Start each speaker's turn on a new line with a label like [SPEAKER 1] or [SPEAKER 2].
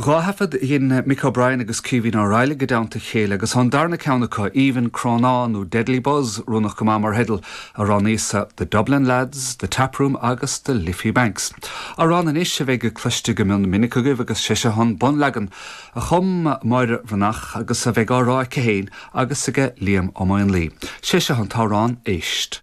[SPEAKER 1] 2 thaifead a dhein Mick O'Brien agus Caoimhín Ó Raghallaigh i dteannta a chéile agus tá an darna ceann acu, Aoibhinn Crónán nó Deadly Buzz, oiriúnach go maith mar theideal, a roghnaíos-sa, The Dublin Lads, The Taproom agus The Liffey Banks. Amhrán anois a bheidh cloiste go mion minic agaibh agus sé seo an bunleagan a chum Máire Bhreathnach agus a bheidh á rá aici féin agus aige Liam Ó Maonlaí. Sé seo an t-amhrán, Éist.